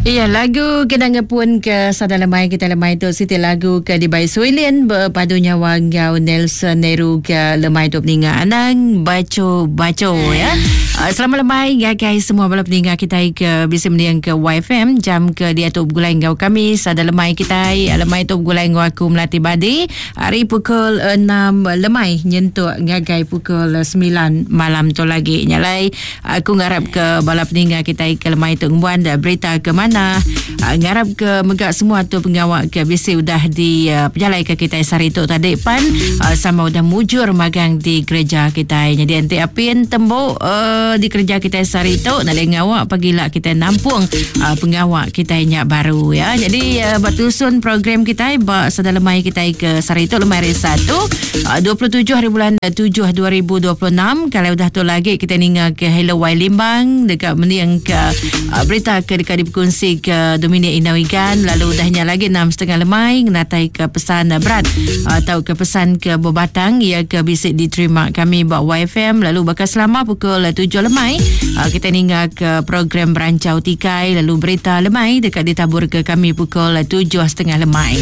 Iya lagu kena ngepun ke sada lemai kita lemai tu siti lagu ke dibai Suilin bepadu nyawa enggau Nelson Neru ke lemai tu peninga anang baco baco ya. Ah, selamat lemai ngagai semua bala peninga kita ke bisi mending ke YFM jam ke diatu begulai enggau kami sada lemai kita lemai tu begulai enggau aku Melati Badi Ari pukul 6 lemai nyentuk ngagai pukul 9 malam tu lagi. Nya alai aku ngarap ke bala peninga kitai ke lemai tu ngembuan berita ke manah. Ah, ngarap ke mega semua tu pengawa ke bisi udah di ah, pejalai ke kitai sehari tu tadi pan ah, sama udah mujur magang di gereja kitai. Jadi enti apin tembu uh, di kereja kitai sehari tu nalai ngawa pagila kitai nampung uh, pengawa kitai nya baru ya. Jadi uh, ba tusun program kitai ba sada lemai kitai ke sehari tu lemai hari Satu uh, 27 hari bulan 7 2026 kalau udah tu lagi kita ninga ke Hello Y Limbang dekat mending ke uh, berita ke dekat diperkongsi ke Dominic Inau Igan lalu udahnya lagi 6.30 lemai ngenatai ke pesan berat atau ke pesan ke bebatang ia ke bisi diterima kami ba YFM lalu bakal selama pukul 7 lemai kita ninga ke program Berancau Tikai lalu berita lemai dekat ditabur ke kami pukul 7.30 lemai.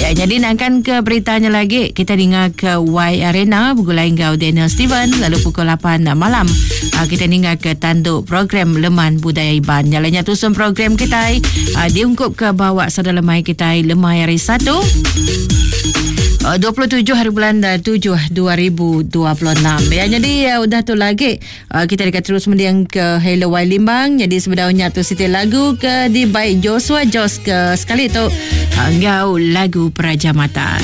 Ya, jadi nangkan ke beritanya lagi kita ninga ke Y Arena begulai enggau Daniel Steven lalu pukul 8 malam kita ninga ke tanduk program Leman Budaya Iban. Nyalanya tusun program kita diungkup ke bawa sada lemai kita lemai hari Satu 27 hari bulan 7 2026. Ya jadi udah tu lagi kita dekat terus mending ke Hello Y Limbang. Jadi sebenarnya tu siti lagu ke dibaik Joshua Jos ke sekali tu enggau lagu Peraja Mata.